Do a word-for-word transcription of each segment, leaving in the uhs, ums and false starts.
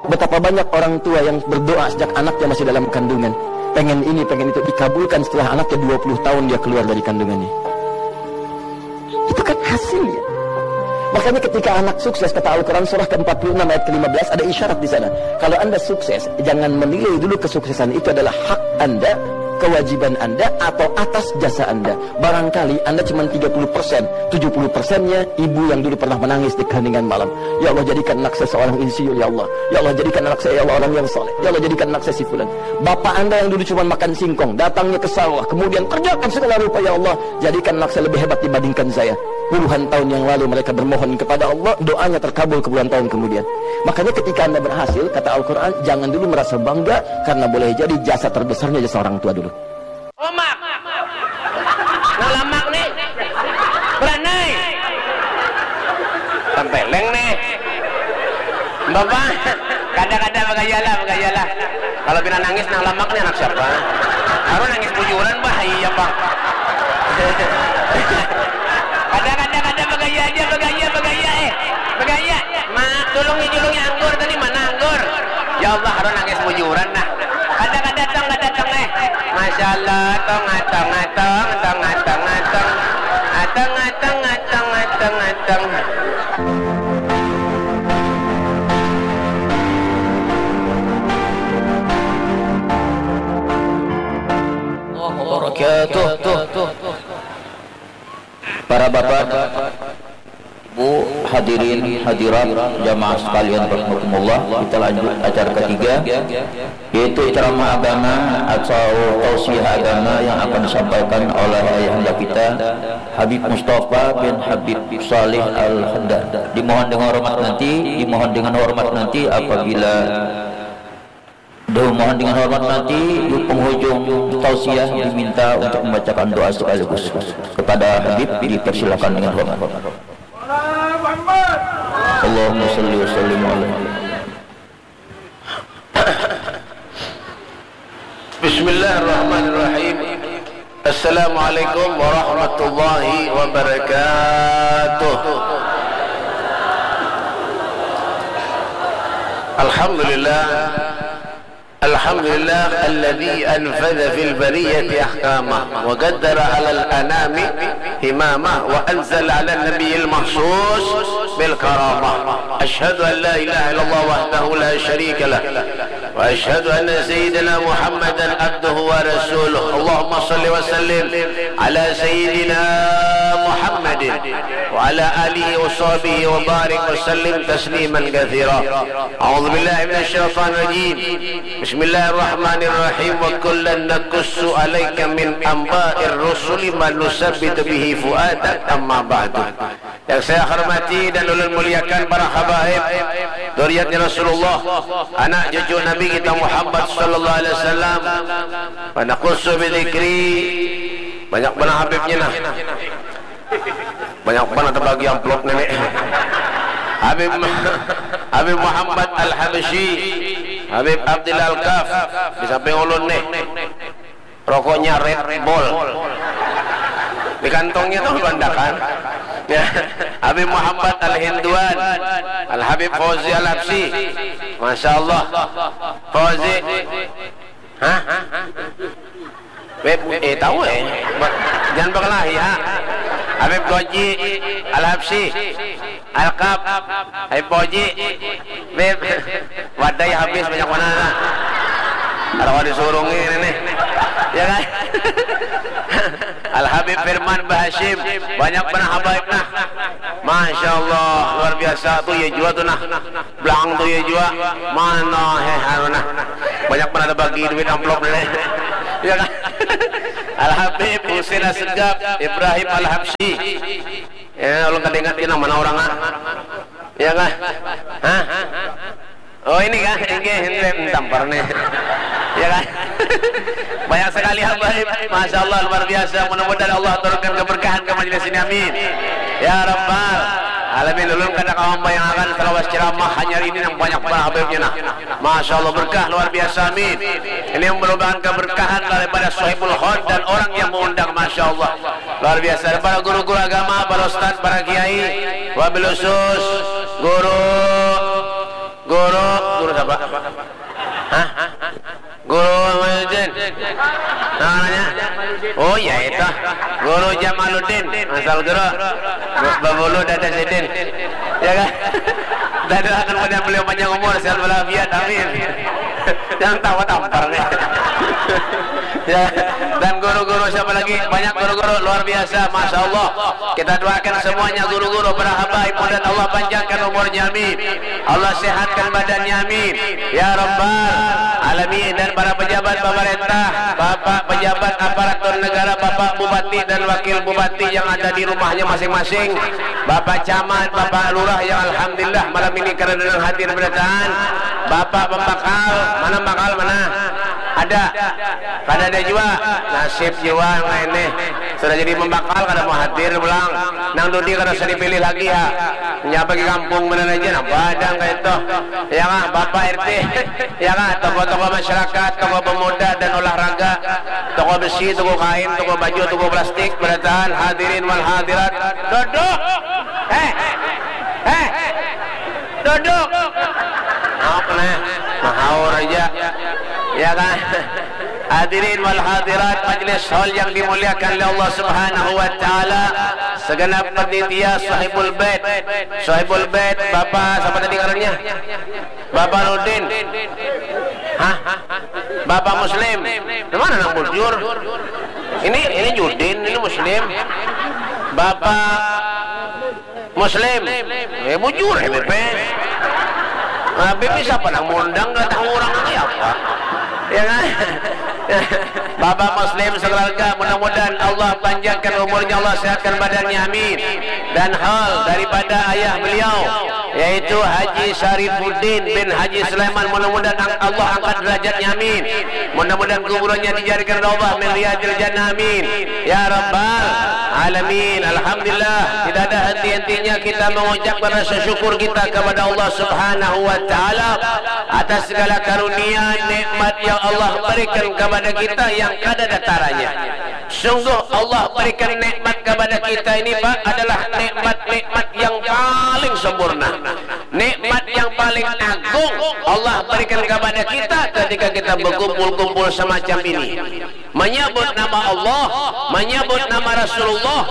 Betapa banyak orang tua yang berdoa sejak anaknya masih dalam kandungan, pengen ini, pengen itu, dikabulkan setelah anaknya dua puluh tahun dia keluar dari kandungannya. Itu kan hasilnya. Makanya ketika anak sukses, kata Al-Quran surah ke empat puluh enam ayat ke lima belas, ada isyarat di sana. Kalau anda sukses, jangan menilai dulu kesuksesan itu adalah hak anda, kewajiban anda, atau atas jasa anda. Barangkali anda cuma tiga puluh persen, tujuh puluh persennya ibu yang dulu pernah menangis di keheningan malam. Ya Allah, jadikan anak saya seorang insinyur, ya Allah. Ya Allah, jadikan anak saya, ya Allah, orang yang soleh. Ya Allah, jadikan anak saya si fulan. Bapak anda yang dulu cuma makan singkong, datangnya ke sawah, kemudian kerjakan segala rupa, ya Allah, jadikan anak saya lebih hebat dibandingkan saya. Puluhan tahun yang lalu mereka bermohon kepada Allah, doanya terkabul puluhan tahun kemudian. Makanya ketika anda berhasil, kata Al-Quran, jangan dulu merasa bangga, karena boleh jadi jasa terbesarnya jasa orang tua dulu. Omak. Nang lamak nih. Beranai. Tempeleng nih. Bapak, kada-kada, bagaya lah, bagaya lah. Kalau pina nangis nang lamak nih anak siapa? Harus nangis bujuran, bah, iya, Bang. Kada-kada, kada, bagaya aja, bagaya, bagaya, eh. Bagaya. Ma, tulungi, julungi anggur tadi, mana anggur? Ya Allah, harus nangis bujuran, nah. Kada, kada, tong, kada, tong, eh. Masya Allah, tong, atong, atong, tong, atong, atong. Atong, atong, atong, atong, atong. Wabarakatuh. Para bapak, ibu, hadirin, hadirat, jamaah sekalian rahimakumullah, kita lanjut acara ketiga, yaitu ceramah agama atau tausiah agama yang akan disampaikan oleh ayahanda kita, Habib Mustafa bin Habib Saleh Al-Haddad. Dimohon dengan hormat nanti, dimohon dengan hormat nanti apabila, dimohon dengan hormat nanti di penghujung tausiah diminta untuk membacakan doa sekaligus. Kepada Habib dipersilakan dengan hormat. Allahumma salli wa sallim alaihi. Bismillahirrahmanirrahim. Assalamualaikum warahmatullahi wabarakatuh. Alhamdulillah. Alhamdulillah alladzi anfadza fil bariyati ahkamah wa qaddara alal anami himamah wa anzala ala nabiyil mahsus bil karamah. Asyhadu an la ilaha illallah wahdahu la syarika lah. Wa asyhadu anna sayyidina Muhammadan abduhu wa rasuluh. Allahumma salli wa sallim ala sayyidina Muhammadin wa ala alihi wa sahbihi wa barik wa sallim tasliman katsira. A'udzu billahi minasy syaithanir rajim. Bismillahirrahmanirrahim. Wa kullan naqussu 'alaika min anba'ir rusuli ma nusabbitu bihi fuadak, amma ba'du. Yang saya hormati dan ulun muliakan para habaib, duriatnya Rasulullah, anak cucu Nabi kita Muhammad sallallahu alaihi wasallam. Wa naqussu bi dzikri, banyak banar habibnya nah. Banyak banar terbagi amplop nenek. Habib Habib Muhammad Al-Habsyi, Habib Abdillah Al-Kaf, di samping ulun nih. Rokoknya Red Bull. Di kantongnya tuh bandakan. Ya. Habib Muhammad Al-Hinduan, Al-Habib Fauzi Al-Habsyi. Masya Allah. Fauzi. Hah? Beb, eh, tahu, eh. Ba-, jangan berkelahi, ha. Habib Goji Al-Habsyi. Alkap, Habib Goji, Beb. Wadai habis banyak mana, nah. Ada disuruh ini nih. Ya kan? Al Habib Firman Bahashim, banyak mana habaib nah. Masya Allah, luar biasa tuh ya jua tuh nah. Belang tuh ya jua. Mana, heh, anu nah. Banyak mana ada bagi duit amplop nih. Ya kan? Al Habib Husin Asegaf, Ibrahim Al Habsyi. Ya, ulun kada ingat kena mana orang, ah. Ya kah? Hah? Oh, ini kah? Ini, ini tampar nih. Ya kan? Banyak sekali habaib. Masya Allah, luar biasa. Mudah-mudahan Allah turunkan keberkahan ke majelis ini. Amin. Ya Rabbal Alamin. Ulun kada kawa membayangkan selawas ceramah hanyar ini nang banyak banar habaibnya nah. Masya Allah, berkah luar biasa. Amin. Ini yang merupakan keberkahan daripada Sohibul Hod dan orang yang mengundang. Masya Allah. Luar biasa. Para guru-guru agama, para ustaz, para kiai, wabil khusus guru, guru, guru Pak? Hah? Guru Jamaluddin. Namanya? Oh ya itu. Guru Jamaluddin. Masal guru. Babulu dada sidin. Ya kan? Dada akan pada beliau panjang umur, sehat walafiat. Amin. Jangan tawa tampar nih. Ya, dan guru-guru siapa lagi? Banyak guru-guru luar biasa, masya Allah. Kita doakan semuanya guru-guru para habaib, mudah Allah panjangkan umurnya, amin. Allah sehatkan badannya, amin. Ya Rabbal Alamin. Dan para pejabat pemerintah, Bapak pejabat aparatur negara, Bapak Bupati dan Wakil Bupati yang ada di rumahnya masing-masing, Bapak Camat, Bapak Lurah yang alhamdulillah malam ini karena dengan hadir berataan, Bapak Pembakal, mana Pembakal mana? Ada. Kada ada jua. Nasib jua nang ini. Sudah jadi pembakal kada mau hadir pulang. Nang dudi kada usah dipilih lagi ya. Nya bagi kampung benar aja nah badan kayak itu. Ya kah, Bapak R T. Ya kah, tokoh-tokoh masyarakat, tokoh pemuda dan olahraga, toko besi, toko kain, toko baju, toko plastik, berataan, hadirin wal hadirat. Duduk. Eh. Eh. Duduk. Maaf nah, mahaur aja. Ya kan? Hadirin wal hadirat, majelis hall yang dimuliakan oleh Allah Subhanahu wa taala, segenap panitia Sahibul Bait. Sahibul Bait, Bapak siapa tadi ngarannya? Bapak Rudin. Hah? Bapak Muslim. Di mana nang bujur? Ini ini Judin, ini Muslim. Bapak Muslim. Eh, bujur Habib. Habib ni siapa nang mundang, kada tahu orang ni apa. Ya kan? Bapak Muslim sekeluarga, mudah-mudahan Allah panjangkan umurnya, Allah sehatkan badannya, amin. Dan hal daripada ayah beliau, yaitu Haji Syarifuddin bin Haji Sulaiman, mudah-mudahan ang- Allah angkat derajatnya, amin. Mudah-mudahan kuburannya dijadikan raudhah min riyadil jannah, amin. Ya Rabbal Alamin. Alhamdulillah, tidak ada henti-hentinya kita mengucapkan rasa syukur kita kepada Allah Subhanahu wa Ta'ala atas segala karunia nikmat yang Allah berikan kepada kita yang kada ada taranya. Sungguh Allah berikan nikmat kepada kita ini, Pak, adalah nikmat-nikmat yang paling sempurna. Nikmat yang paling agung Allah berikan kepada kita ketika kita berkumpul-kumpul semacam ini. Menyebut nama Allah, menyebut nama Rasulullah,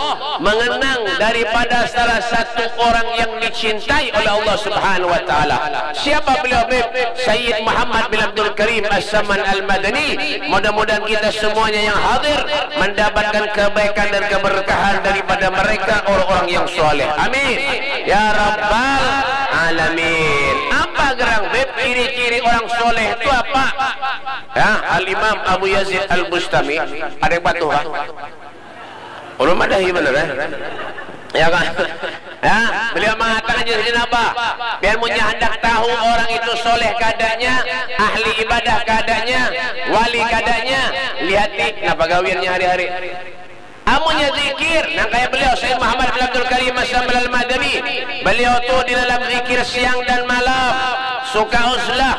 mengenang daripada salah satu orang yang dicintai oleh Allah Subhanahu wa taala. Siapa beliau, Habib? Sayyid Muhammad bin Abdul Karim As-Saman Al-Madani. Mudah-mudahan kita semuanya yang hadir mendapatkan kebaikan dan keberkahan daripada mereka orang-orang yang soleh. Amin. Ya Rabbal Alamin. Apa gerang, Beb, ciri-ciri orang soleh itu apa? Ya, Al-Imam Abu Yazid Al-Bustami. Ada yang patuh, kan? Ulun madahi bener, ya? Ya kan? Ya, beliau mengatakan jadi apa? Biar munnya hendak tahu orang itu soleh kadanya, ahli ibadah kadanya, wali kadanya, lihati napa gawiannya hari-hari. Amunnya zikir, nang kaya beliau Sayyid Muhammad bin Abdul Karim As-Saman Al-Madani, beliau tu di dalam zikir siang dan malam, suka uzlah,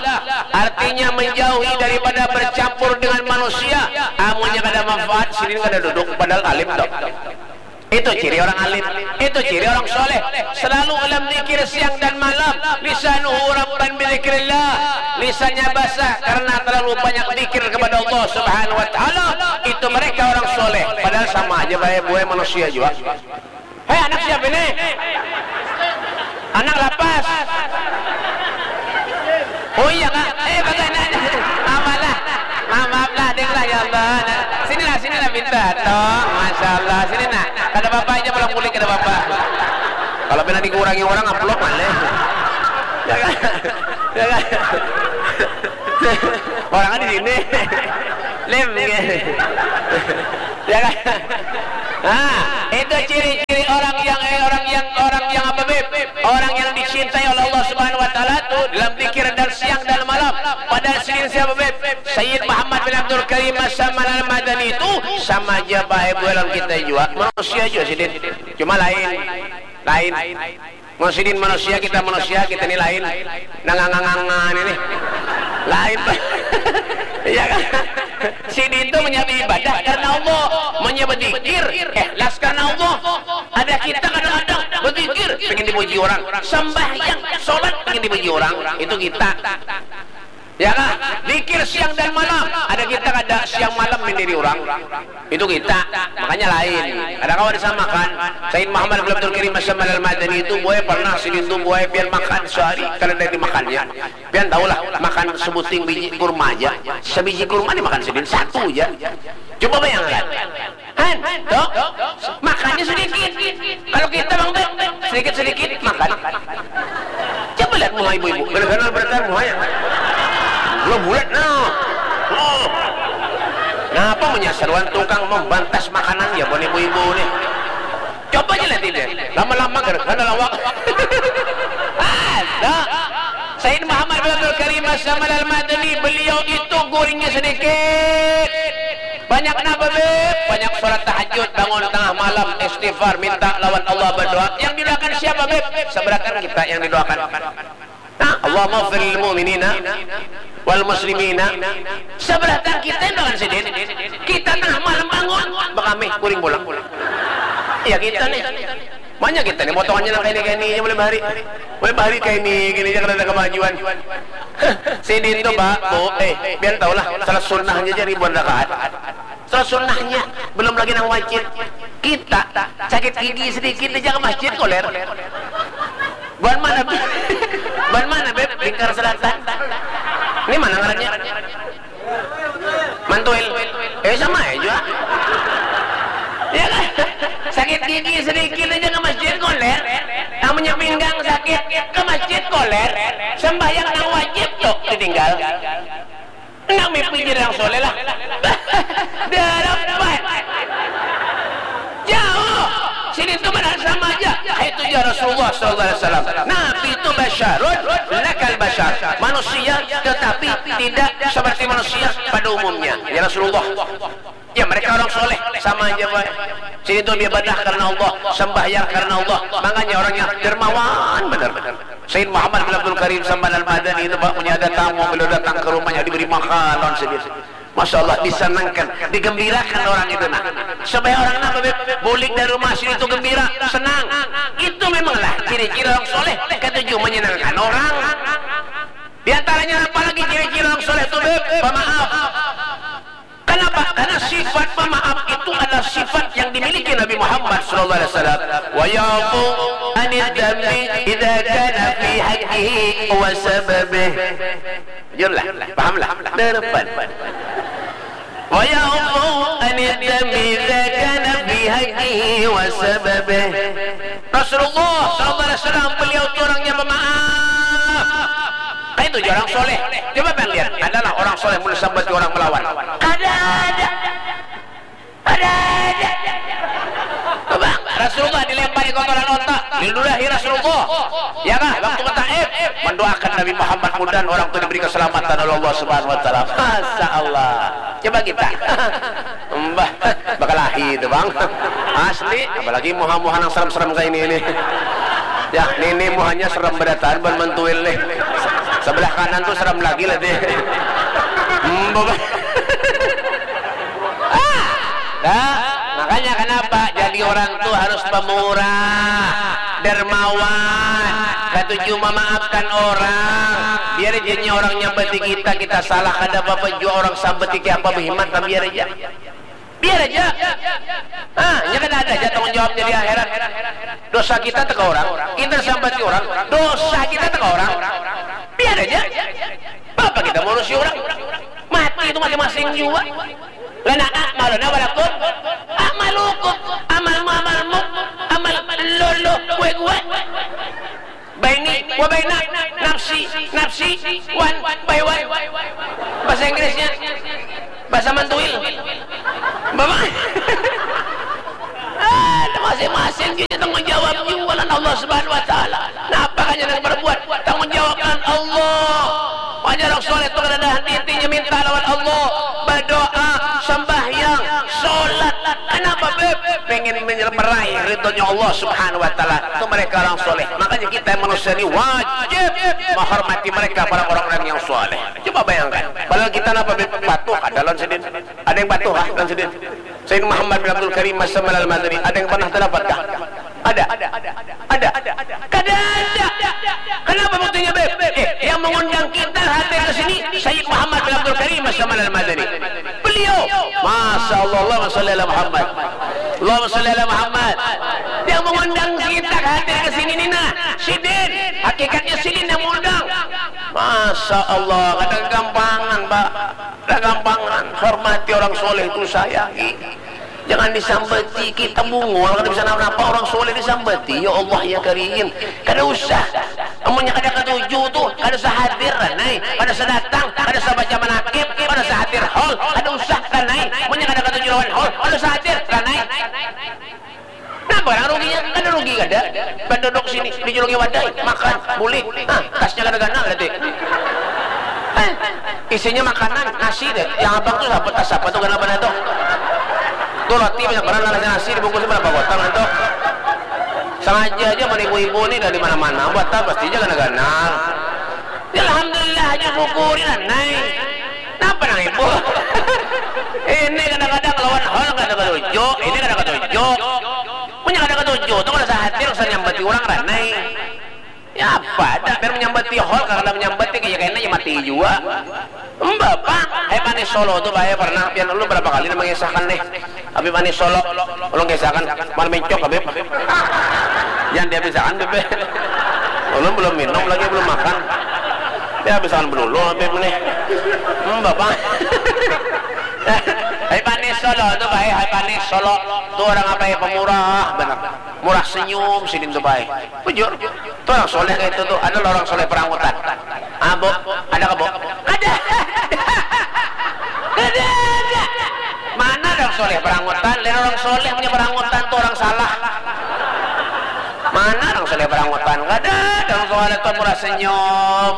artinya menjauhi daripada bercampur dengan manusia. Amunnya kada manfaat, sidin kada duduk, padahal alim tu. Itu ciri orang alim, itu ciri orang soleh. Selalu dalam zikir siang dan malam. Lisanuhu rabban bidzikrillah. Lisannya basah karena terlalu banyak zikir kepada Allah Subhanahu wa taala. Itu mereka orang soleh. Padahal sama aja bae buai manusia jua. Hei, anak siapa ini? Anak lapas. Oh iya, Kak. Eh, bagaimana? Maaf lah. Maaf, maaf lah, deng lah, ya Allah. Nah, sinilah, sinilah, pintar. Tong, Masya Allah. Sini, nak. Kada apa-apa aja, pulang kulit, kada apa-apa. Kalau pernah dikurangi orang, amplop mana? Ya kan? Ya kan? Orangnya di sini. Lem, ya. Ya kan? Nah, itu ciri-ciri orang yang, eh, orang yang, orang yang apa, Beb? Orang yang dicintai oleh Allah Subhanahu wa taala tuh dalam zikir dan siang dan malam. Padahal sidin siapa, Beb? Sayyid Muhammad bin Abdul Karim As-Saman Al-Madani itu sama aja bae bualan kita jua. Manusia jua sidin. Cuma lain. Lain. Mun sidin manusia, kita manusia, kita ni lain. Nangangangangan ini. Lain. Iya kan? Sidin tu menyambi ibadah karena Allah, menyambi zikir ikhlas karena Allah. Ada kita kadang-kadang berzikir, pengen dipuji orang, sembahyang, sholat pengen dipuji orang, itu kita. Ya kah? Zikir siang dan malam, ada kita kada siang malam mendiri orang, itu kita. Makanya lain, ada kawan disamakan. Sayyid Muhammad bin Abdul Karim Asam Al Madani itu, buai pernah sidin tu, buai pian makan sehari kada ada dimakannya. Pian tahulah, makan sebuting biji kurma aja, sebiji kurma dimakan sidin satu aja. Coba bayangkan. Han, tuh, makannya sedikit. Kalau kita, Bang Beb, sedikit-sedikit makan. Coba lihat muha ibu-ibu. Benar-benar beratan muhanya. Belum bulat, nah. Oh. Kenapa menyasaruan tukang membantas makanan ya, buat ibu-ibu nih? Coba aja lihat ini. Lama-lama gara-gara lawak. Ada. Sayyid Muhammad bin Abdul Karim Asam Al Madani, beliau itu guringnya sedikit. Banyak napa, Beb? Banyak sholat tahajud, bangun tengah malam, istighfar, minta lawan Allah, berdoa. Yang didoakan siapa, Beb? Seberakan kita yang didoakan. Nah, Allahumma fil mu'minina wal muslimina. Seberakan kita yang doakan sidin. Kita tengah malam bangun, bakami, kuring pulang. Ya kita nih. Banyak kita nih, potongannya nang kaini-kaini aja mulai bahari. Mulai bahari kaini, gini aja kada ada kemajuan. Sidin tuh, Pak, Bu, eh, pian tahulah, salat sunnahnya aja ribuan rakaat. Salat sunnahnya, belum lagi nang wajib. Kita, sakit gigi sedikit aja ke masjid koler. Buan mana, Beb? Buan mana, Beb? Lingkar Selatan. Ini mana ngarannya? Mantuil. Eh, sama aja jua. Ya kan? Sakit gigi sedikit aja ke masjid koler. Amunnya pinggang sakit, ke masjid koler. Sembahyang nang wajib tuh ditinggal. Nang mimpi jadi nang soleh lah. Darapan. Jauh. Sini tuh mana sama aja. Itu ya Rasulullah sallallahu alaihi wasallam. Nabi itu basyarun lakal basyar. Manusia tetapi tidak seperti manusia pada umumnya. Ya Rasulullah. Ya, mereka orang soleh, sama aja, Pak. Sini tuh dia ibadah karena Allah, sembahyang karena Allah. Makanya orangnya dermawan benar. Sayyid Muhammad bin Abdul Karim Samban Al-Madani itu, Pak, punya ada tamu, beliau datang ke rumahnya, diberi makanan sedikit. Masya Allah, disenangkan, digembirakan orang itu, nah. Supaya orang apa, Beb? Bulik dari rumah sini tuh gembira, senang. Itu memanglah ciri-ciri orang soleh, ketujuh menyenangkan orang. Di antaranya apa lagi ciri-ciri orang soleh tuh, Beb? Pemaaf. Kenapa? Karena sifat pemaaf itu adalah sifat yang dimiliki Nabi Muhammad sallallahu alaihi wasallam. Wa ya'fu anid dzambi idza kana fi haqqihi wa sababih. Jujurlah, pahamlah. Depan. Wa ya'fu anid dzambi idza kana fi haqqihi wa sababih. Rasulullah sallallahu alaihi wasallam, beliau itu orangnya pemaaf. Kayak itu orang soleh. Coba kalian lihat, adalah orang soleh mun sambati orang melawan. Kada ada. Kada ada. Coba, Rasulullah dilempari kotoran otak, diludahi Rasulullah. Ya kah? Waktu ke Taif, mendoakan Nabi Muhammad, mudahan orang itu diberi keselamatan oleh Allah Subhanahu wa taala. Masya Allah. Coba kita. Mbah, bakalahi itu, Bang. Asli, apalagi muha-muha nang serem-serem kayak ini, ini. Ya, ini, ini muhanya serem berataan, ban mentuil nih. Sebelah kanan tuh serem lagi lah deh. Mbah. Ah, dah. Makanya kenapa jadi orang tuh harus pemurah, dermawan, katuju memaafkan orang. Biar aja orangnya bati kita, kita salah, kada apa-apa jua orang sambati kayak apa behimat, biar aja. Biar aja. Ah, nya kan ada aja tanggung jawabnya di akhirat. Dosa kita teka orang, kita sambati orang, dosa kita teka orang. Biar aja. Apa kita ngurusi orang? Mati itu masing-masing jua. Lana a'maluna walakum a'malukum. Amalmu, amalmu, amal lolo, kue, kue. Baini, wa baina, nafsi, nafsi, wan, by wan. Bahasa Inggrisnya, bahasa Mantuil. Bapak, ah, masing-masing kita tanggung jawab juga lawan Allah Subhanahu wa Ta'ala. Napa kanya nang berbuat? Tanggung jawab lawan Allah. Wajar orang soleh itu kada ada hati-hatinya minta lawan Allah. Berdoa, sembahyang, sholat. Kenapa, Beb? Pengen menyer-, meraih ridhonya Allah Subhanahu wa Ta'ala. Itu mereka orang soleh. Makanya kita manusia ini wajib menghormati mereka, para orang-orang yang soleh. Coba bayangkan. Padahal kita napa, Beb? Patuh, ada lawan sidin. Ada yang patuh, ah, lawan sidin. Sayyid Muhammad bin Abdul Karim Masa Malal Madani, ada yang pernah terdapat kah? Ada. Ada. Yang mengundang kita hadir ke sini Sayyid Muhammad bin Abdul Karim As-Saman Al-Madani. Beliau, Masya Allah, Allahumma salli ala Muhammad. Allahumma salli ala Muhammad. Yang mengundang kita hadir ke sini ni nah, sidin. Hakikatnya sidin yang mengundang. Masya Allah, kada gampangan, Pak. Kada gampangan. Hormati orang soleh itu, sayangi. Jangan disambati, kita bungul, kada bisa napa-napa, orang soleh disambati. Ya Allah, ya Karim, kada usah. Amunnya kada katuju tu, kada usah hadir, Ranai. Kada usah datang, kada usah baca manakib, kada usah hadir hall, kada usah, Ranai. Amunnya kada katuju lawan hall, kada usah hadir, Ranai. Napa nang ruginya? Kada rugi kada. Penduduk sini dijulungi wadai, makan, bulik. Nah, tasnya kada ganal berarti. Eh, isinya makanan, nasi deh. Yang abang tu siapa, tas siapa tu ganal banar tu? Tu roti banyak banar, nasi dibungkus berapa gotang tu? Sengaja aja mun ibu-ibu ni dari mana-mana, buatan pasti aja ganal-ganal. Ya, alhamdulillah aja syukuri lah, Nai. Napa nang ibu? Ini kadang-kadang lawan hall kada katuju, ini kada katuju. Punya kada katuju tu kada sahatir usah nyambati urang, Ranai. Ya apa ada biar menyambati hall, kada menyambati kaya kena ya mati jua. Mbah, Pak, hai panis Solo tu bae pernah pian ulun berapa kali nang mengisahkan nih. Habib Anis Solo, ulun kisahkan, mar mencok Habib. Jangan dihabisakan Habib. Ulun belum minum lagi, belum makan. Dihabisakan belulu Habib nih. Hmm, Bapak. Habib Anis Solo tu baik, Habib Anis Solo tu orang apa ya, pemurah benar. Murah senyum sidin tu baik. Bujur. Tu orang soleh kayak itu tu. Ada lah orang soleh perangutan. Ah, Bu, ada ke, Bu? Kada ada. Kada ada. Mana orang soleh perangutan? Lain orang soleh punya perangutan tu orang salah. Mana orang soleh perangutan? Kada ada orang soleh tu murah senyum.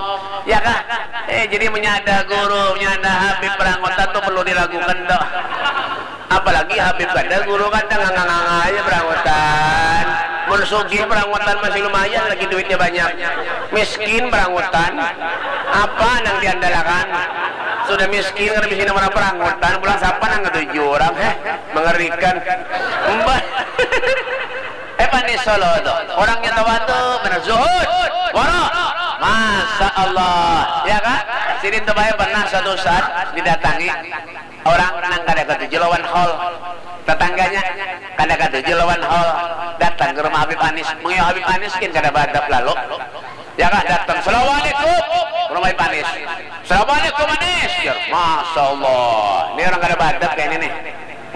Ya kah? Eh, jadi punya ada guru, punya ada Habib perangutan tu perlu diragukan tu. Apalagi Habib kada, guru kada, nganga-nganga aja perangutan. Mun sugih perangutan masih lumayan lagi duitnya banyak. Miskin perangutan, apa nang diandalakan? Sudah miskin, kada miskin orang perangutan, pulang siapa nang katuju orang? Heh, mengerikan. Mbah. Eh, Panis Solo tu. Orangnya tawadu, benar zuhud, wara. Masya Allah. Ya kah? Sidin tu bae pernah suatu saat didatangi orang nang kada katuju lawan hall. Tetangganya kada katuju lawan hall. Datang ke rumah Habib Anis. Mengiyau Habib Anis kin kada baadab lalu. Ya kah, datang. Assalamualaikum. Rumah Habib Anis. Assalamualaikum, Anis. Jar, Masya Allah. Ini orang kada baadab kayak ini nih.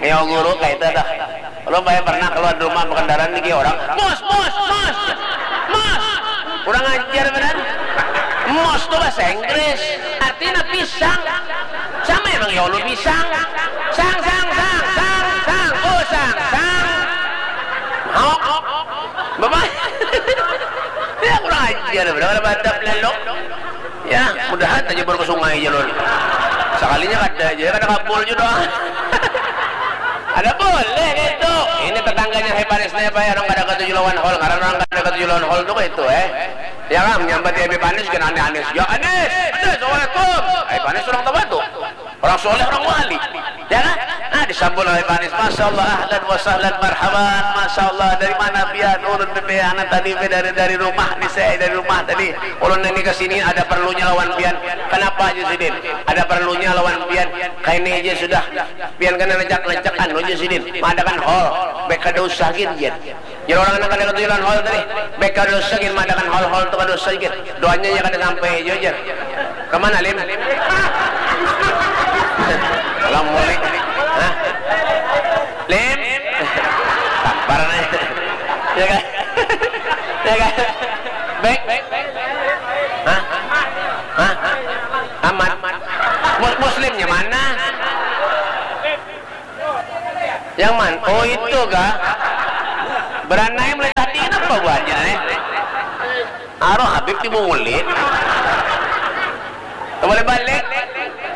Ngiyau guru kayak itu dah. Ulun bae pernah keluar rumah bekendaraan lagi orang. Mos, mos, mos. Mos. Kurang ajar benar. Mos tu bahasa Inggris. Artinya pisang. Sama emang ya Allah pisang. Sang, sang, sang, sang, sang. Oh, sang, sang. Hok. Bapak. Ya kurang ajar benar, kada baadab lalu. Ya, mudahan aja baru ke sungai jalur. Sekalinya kada aja, kada kabul juga doa. Ada boleh gitu. Ini tetangganya Habib Anis nih, Pak, orang kada katuju lawan hall, karena orang kada katuju lawan hall tuh itu, eh. Ya kan, menyambati Habib Anis kena aneh-aneh. Ya, Anis, Anis, assalamualaikum. Habib Anis orang tua tuh. Orang soleh, orang wali. Ya kan? Nah, disambut oleh Habib Anis. Masya Allah, ahlan wa sahlan, marhaban. Masya Allah, dari mana pian? Ulun pian tadi, dari, dari rumah nih, saya dari rumah tadi. Ulun ini ke sini ada perlunya lawan pian. Kenapa aja sidin? Ada perlunya lawan pian. Kayak ini aja sudah. Pian kena lejak-lejak anu aja sidin. Madakan hall. Bek kada usah gin, jar. Jar orang nang kada katuju lawan hall tadi. Bek kada usah gin, madakan hall-hall tu kada usah gin. Doanya ya kada sampai aja, jar. Kemana, Lim? Ulang mulik. Hah? Lim? Tampar nih. Ya kan? Ya kan? Baik. Hah? Hah? Amat. Mus- Muslimnya mana? Yang mana? Oh, itu kah? Beranai mulai tadi, kenapa buahnya nih? Aroh Habib di mulin. Boleh balik.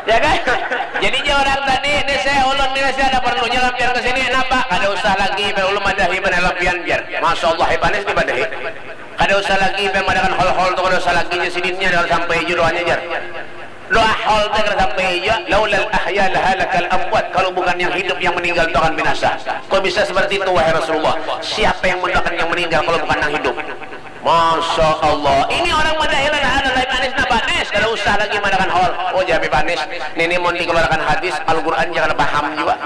Ya kan? Jadi dia orang tadi, ini saya ulun ini saya ada perlunya lampian ke sini. Kenapa? Kada usah lagi, biar ulun madahi benar lampian biar. Masya Allah, Habib Anis dipadahi. Kada usah lagi, biar madakan hol-hol tu kada usah lagi, jar sidinnya, dah sampai aja doanya, jar. Doa hol tu kada sampai aja, laulal ahya lahalakal amwat, kalau bukan yang hidup, yang meninggal itu akan binasa. Kok bisa seperti itu, wahai Rasulullah? Siapa yang mendoakan yang meninggal kalau bukan yang hidup? Masya Allah. Ini orang madahi lain ada lain Anis napa? Anis, Usah lagi madakan hol. Oh, jadi panis. Nini mun dikeluarkan hadis, Al-Quran jangan paham juga.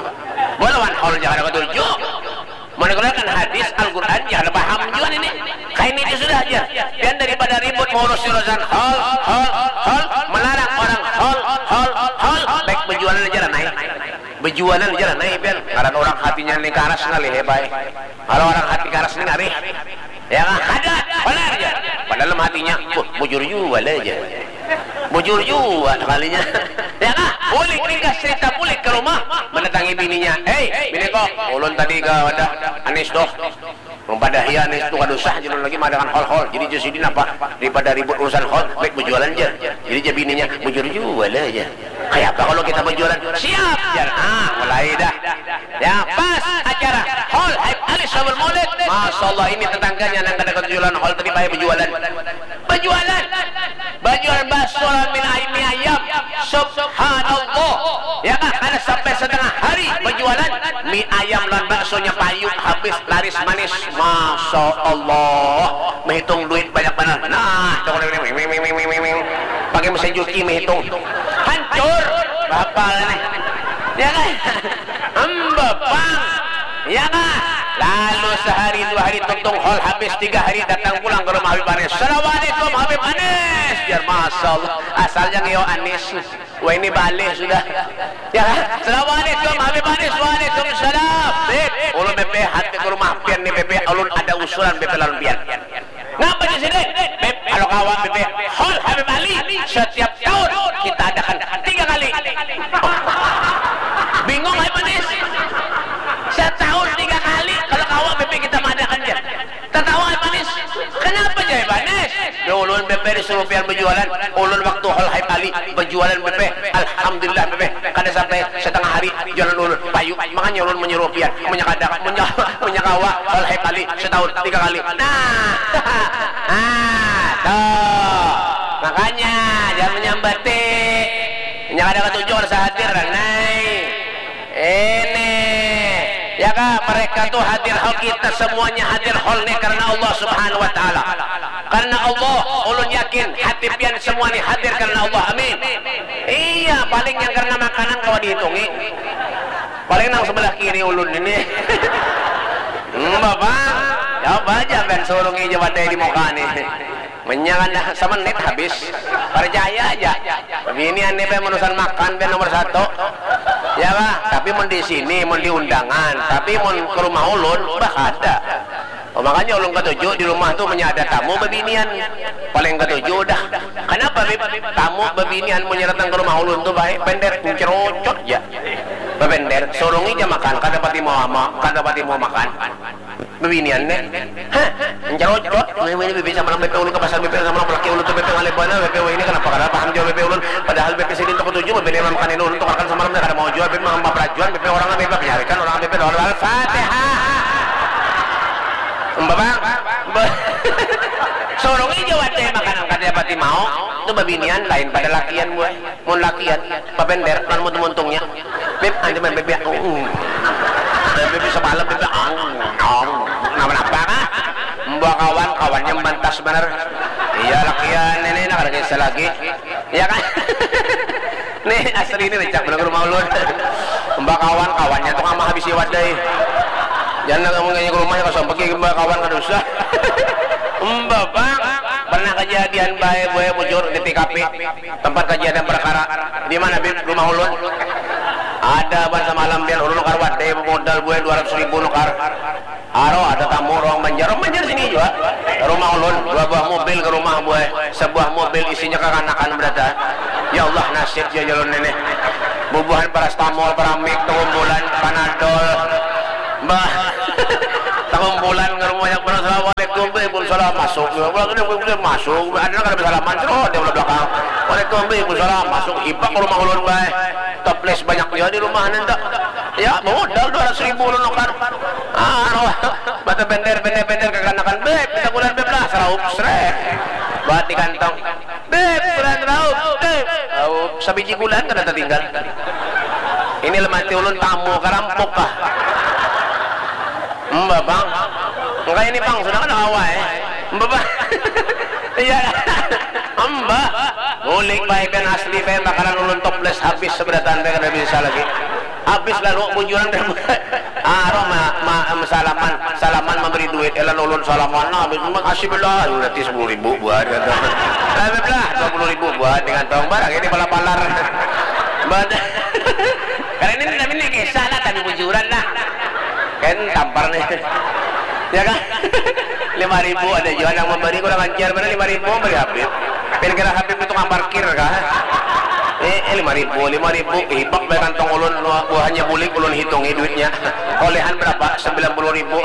Bolawan hol jangan katuju. Mun dikeluarkan hadis, Al-Quran jangan paham juga nini. Kayak ini sudah aja. Pian daripada ribut mengurus urusan hol, hol, hol, melarang orang hol, hol, hol, baik berjualan aja lah naik. Bejualan ja lah nai pian. Ngaran urang hatinya ni karas ngalih ya bai. Kalau orang hati karas ni ngalih. Ya kah? Kada, banar ja. Padahal dalam hatinya, wah, bujur jua lah ja. Bujur jua sekalinya. Ya kah? Bulik ringkas cerita, bulik ke rumah, mendatangi bininya. Hei, bini kok, ulun tadi ke wadah Anis tuh. Mempadahi Anis tu kada usah, ulun lagi madakan hol-hol. Jadi jar sidin apa, daripada ribut urusan hol, baik bejualan jar. Jadi jar bininya, bujur jua lah jar. Kaya apa kalau kita bejualan? Siap jar. Ah, mulai dah. Ya, pas acara hol Haib Alis Sabul Maulid. Masya Allah, ini tetangganya nang kada ketujuan hol tadi, bahaya bejualan. Bejualan. Bajual bakso lawan mie ay-, mie ayam. Subhanallah. Ya kah, kada sampai setengah hari bajualan, mie ayam lawan baksonya payu, habis, laris manis. Masya Allah. Menghitung duit banyak banar. Nah, tong ini, wing, wing, wing, wing, wing, wing. Pakai mesin cuci menghitung. Hancur. Bapal nih. Ya kah? Embebang. Ya kah? Lalu sehari dua hari tuntung hol, habis tiga hari datang pulang ke rumah Habib Anis. Assalamualaikum Habib Anis. Jar, Masya Allah. Asalnya ngeo Anis. Wah, ini balih sudah. Ya kah? Assalamualaikum Habib Anis. Waalaikumsalam. Beb, ulun beb hati ke rumah pian nih beb. Ulun ada usulan beb lawan pian. Ngapa di sini? Beb, kalau kawa beb, hol Habib Ali setiap tahun kita adakan tiga kali. Bingung Habib Anis. Setahun tiga kali kalau kawa beb kita mengadakan jar. Tatawa Habib Anis. Kenapa jar Habib Anis? Ya ulun beb disuruh pian berjualan. Ulun waktu hol Habib Ali berjualan beb. Alhamdulillah beb. Kada sampai setengah hari jualan ulun payu. Makanya ulun menyuruh pian. Menyakada, menya-, menyakawa hol Habib Ali setahun tiga kali. Nah. Ah, tuh. Makanya jangan menyambati. Nya kada katuju rasa hadir, Nai. Ini, ya kah, mereka tuh hadir hol, kita semuanya hadir hol nih karena Allah Subhanahu wa Ta'ala. Karena Allah, ulun yakin hati pian semua nih hadir karena Allah. Amin. Iya, paling yang karena makanan kawa dihitungi. Paling nang sebelah kiri ulun ini. Hmm, Bapak, ya apa aja ben surungi aja wadai di muka nih. Menyangan dah semenit habis. Percaya aja. Bini ane be urusan makan be nomor satu. Ya bah, tapi mun di sini, mun di undangan, tapi mun ke rumah ulun, bah kada. Oh, makanya ulun ketuju di rumah tuh, menyada tamu bebinian. Paling ketuju dah. Kenapa, Bib? Tamu bebinian mun datang ke rumah ulun tuh baik, bender, cerocot ya. Bebender, surungi aja makan, kada pati mau ama, kada pati mau makan. Bebinian ne. Hah? Mencerocot. Weh, weh, ini bebe samalam bebe ulun ke pasar, bebe samalam laki ulun tuh bebe ngalih banar, bebe, weh, ini kenapa kada paham jua bebe ulun. Padahal bebe sidin toko tujuh bebe lima makan ini ulun tukarkan samalam kada mau jua, bebe mangambap rajuan, bebe orang bebe penyarikan, orang bebe lawan Al-Fatihah. Mbak Bang, mbak. Sorong ijo wadai makanan kada pati mau. Itu bebinian lain pada lakian buai. Mun lakian, babender, lawan muntung-muntungnya. Beb, anjir main bebek. Uh. Main bebek semalam, bebek. Ang, ang. Napa-napa kah? Mbak kawan, kawannya mantas bener. Iya, lakian ini, nak ada kisah lagi. Iya kan? Nih, asli ini, cak bener rumah ulun. Mbak kawan, kawannya tuh mah habis wadai. Jangan kamu ngajak ke rumah, ya, kosong pergi, Mbak kawan, kada usah. Mbak, Bang, pernah kejadian bae, bae bujur di T K P. Tempat kejadian perkara. Di mana, Bib? Rumah ulun. Ada ban semalam pian ulun nukar wadai modal buai dua ratus ribu nukar. Aro ada tamu orang Banjar, orang Banjar sini juga. Rumah ulun, dua buah mobil ke rumah buai. Sebuah mobil isinya kekanakan berada. Ya Allah, nasib ya jalur ini. Bubuhan parastamol, paramik, tengumbulan, panadol. Mbah. Tengumbulan ke rumah yang benar. Assalamualaikum, Bib. Waalaikumsalam. Masuk. Waalaikumsalam. Masuk. Ada nang kada bersalaman, cerot dia belah belakang. Waalaikumsalam. Masuk hipak ke rumah ulun bae. Toples banyak dia di rumah nanti. Ya, modal dua ratus ribu ulun nukar. Ah, roh. Mata bender, bender, bender kekanakan, Bib, kita bulan, Bib lah, seraup, srek. Buat di kantong. Bib, bulan seraup, Bib. Seraup, sabiji bulan kada tertinggal. Ini lemati ulun tamu karampok kah? Mbak, Bang. Enggak ini, Bang, sudah kan awal, eh. Mbak, Bang. Iya. Amba. Bulik bae pian asli bae makanan ulun toples habis seberataan bae kada bisa lagi. Habis lalu bujuran bae. Ah, roh ma, ma, salaman, salaman memberi duit elan ulun salaman nah habis makasih belah nanti sepuluh ribu buat kata. Lah belah dua puluh ribu buat dengan tong barang ini pala palar. Bad. Karena ini tapi ini kisah lah tapi bujuran lah. Kan tampar nih. Ya kan? Lima ribu ada juga yang memberi kurang ajar mana lima ribu memberi Habib. Pin kira Habib itu tukang parkir kah? Eh, eh lima ribu, lima ribu hibak bae kantong ulun buahnya bulik ulun hitungi duitnya. Olehan berapa? Sembilan puluh ribu.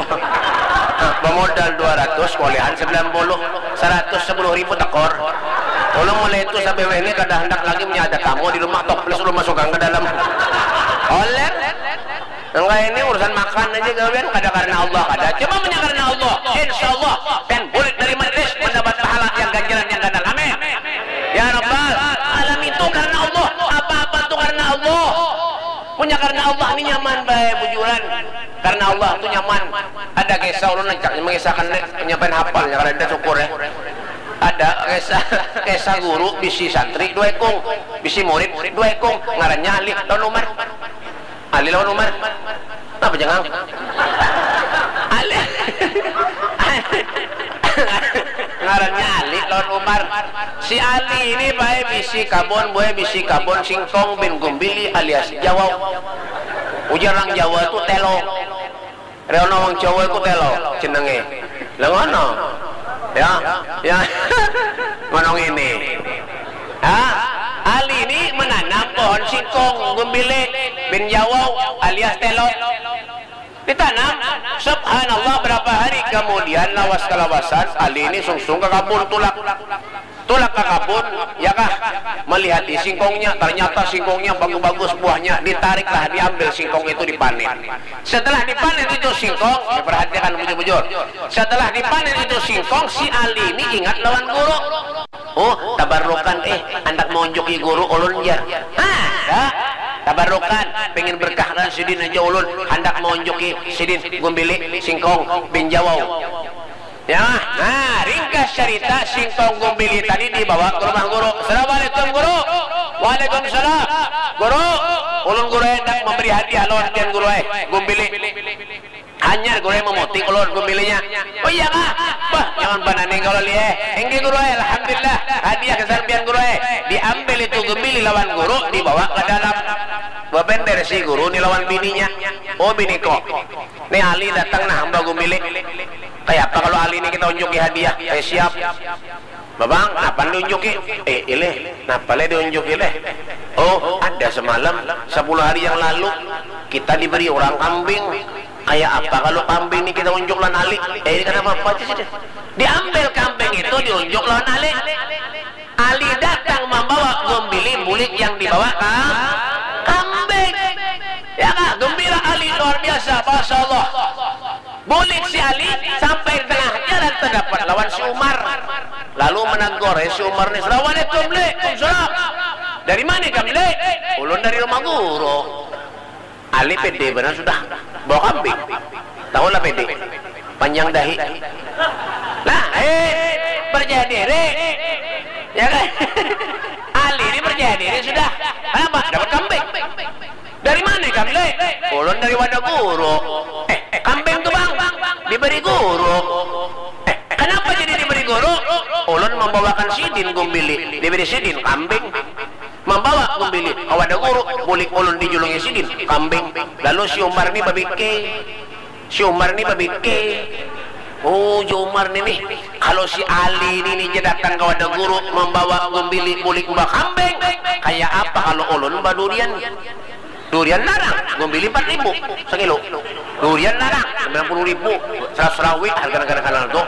Bemodal dua ratus, olehan sembilan puluh. Seratus sepuluh ribu tekor. Ulun mulai itu sampai ini kada hendak lagi punya ada tamu di rumah tok plus ulun masukkan ke dalam. Oleh Enggak ini urusan makan aja gawian kada karena Allah kada. Cuma punya karena Allah, insya Allah pian bulik dari majlis mendapat pahala yang ganjaran yang ganal. Amin. Ya Rabbal alamin itu karena Allah. Apa-apa itu karena Allah. Punya karena Allah ini nyaman bae bujuran. Karena Allah itu nyaman. Ada kisah ulun rancak mengisahkan deh, nyampaian hafal ya kada ada syukur ya. Ada kisah kisah guru bisi santri dua ekung, bisi murid dua ekung, ngarannya Ali lawan Umar. Ali lawan Umar. Napa jangang? Ali. Ngarannya Ali lawan Umar. Si Ali ini bae bisi kabon, bae bisi kabon singkong bin gumbili alias jawau. Ujar orang Jawa tu telo. Reono wong Jawa ku telo jenenge. Lah ngono. Ya, ya. Ngono ngene. Ha? Ali ni menanam pohon singkong gumbili bin jawau alias telo. Ditanam, subhanallah berapa hari kemudian lawas kalawasan Ali ini sungsung ke kabun tulak. Tulak ke kabun, ya kah? Melihati singkongnya, ternyata singkongnya bagus-bagus buahnya, ditariklah, diambil singkong itu dipanen. Setelah dipanen itu singkong, diperhatikan bujur-bujur. Setelah dipanen itu singkong, si Ali ini ingat lawan guru. Oh, tabarukan eh, anak mau unjuki guru ulun jar. Ah, ya. Tabarukan, pengen berkah dan sidin aja ulun, hendak mau unjuki sidin gumbili singkong bin jawau. Ya, nah ringkas cerita singkong gumbili tadi dibawa ke rumah guru. Assalamualaikum guru. Waalaikumsalam. Guru, ulun guru hendak memberi hadiah lawan pian guru eh, gumbili. Hanyar guru eh memutik ulun gumbilinya. Oh iya kah? Bah, jangan bananing kalau lieh. Engge guru eh, alhamdulillah. Hadiah kesan pian guru eh. Diambil itu gumbili lawan guru dibawa ke dalam. Bebender si guru ni lawan bininya. Oh bini kok. Ni Ali datang nah hamba gumbili. Kaya apa kalau Ali ni kita unjuki hadiah? Eh siap. Babang, napa diunjuki? Eh ileh, napa leh diunjuki leh? Oh, ada semalam, sepuluh hari yang lalu kita diberi orang kambing. Kaya apa kalau kambing ni kita unjuk lawan Ali? Eh ini kenapa apa aja sih? Diambil kambing itu diunjuk lawan Ali. Ali datang membawa gumbili bulik yang dibawa kam kambing. Ya kak, gembira Ali luar biasa, masya Allah. Bulik si Ali sampai di tengah jalan terdapat lawan si Umar. Lalu menegur eh, si Umar ni, Assalamualaikum le. Waalaikumsalam. Dari mana kamu le? Ulun dari rumah guru. Ali pede benar sudah bawa kambing. Tahu lah pede. Panjang dahi. Nah, eh percaya diri. Ya kan? Ali ini percaya diri sudah. Kenapa? Dapat kambing. Dari mana kamu le? Ulun dari wadah guru. Eh, kambing tu bang diberi guru. Eh, kenapa jadi diberi guru? Ulun membawakan sidin gumbili, diberi sidin kambing. Membawa gumbili ke wadah guru, bulik ulun dijulungi sidin kambing. Lalu si Umar ni babikir. Si Umar ni babikir, oh ujar Umar ni nih, kalau si Ali ni nih ja datang ka wadah guru mambawa gumbili bulik bakambing, kaya apa kalau ulun badurian? Durian larang, gumbili empat ribu sakilo. Durian larang, sembilan puluh ribu, seratus rawi harga nagara kanan tu.